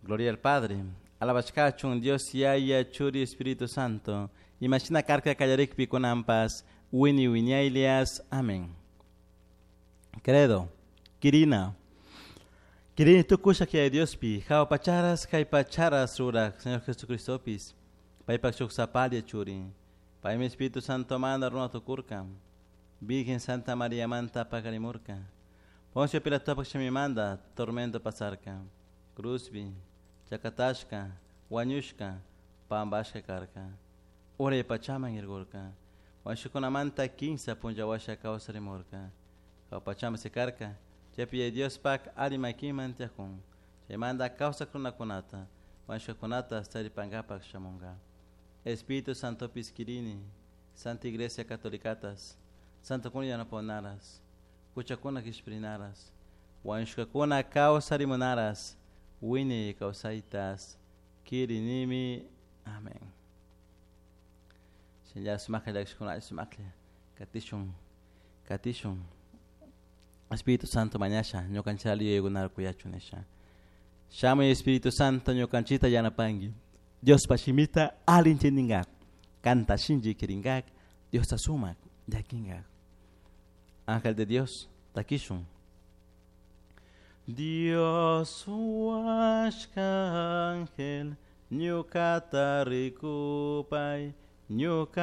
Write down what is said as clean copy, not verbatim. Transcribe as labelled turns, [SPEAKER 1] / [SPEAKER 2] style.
[SPEAKER 1] Gloria al Padre. Alabashkachun Dios Yaya Churi Espíritu Santo. Imashina karka kallarikpi kunanpas wini wiñaylias. Amén. Credo. Kirina. Kirini tukusha que Diospi, jawa pacharas kay pacharas rurak, Señor Jesucristopis. Paypak shuk sapalia churi. Paymi Espíritu Santo manda runa tukurka. Virgen Santa María manta pakarimurka. Poncio Pilatopak shimimanda tormento pasarka. Cruzbi, chakatashka, wañushka, pambashka karka. Uray pachaman irgurka. Wañushukunamanta kinsa punlla kawsarimurka. Jawa pachaman sikarka. Chaypi Diospak alli makiman tiyakun. Chaymanta kawsak runakunata, wañushkakunata taripankapak shamunka. Espíritu Santopis kirini, Santa Iglesia Catolicatas, Santokuna yanaponaras, huchakuna kishpirinaras, wañushkakuna kawsarimunaras, wiñay kawsaytas, kirinimi. Amén. Shinlla sumaklla llakishkuna sumaklla katishun, katishun. Espíritu Santo mañasha, ñukanchita yuyaykunata kuyachun nisha. Shamuy Espíritu Santo ñukanchita yanapanki. Diospa shimita alli intendingak. Kanta shinchi kiringak, Diosta sumak llakinkak. Ángel de Dios, takishun. Dios huashka ángel, ñukata rikupay, ñuka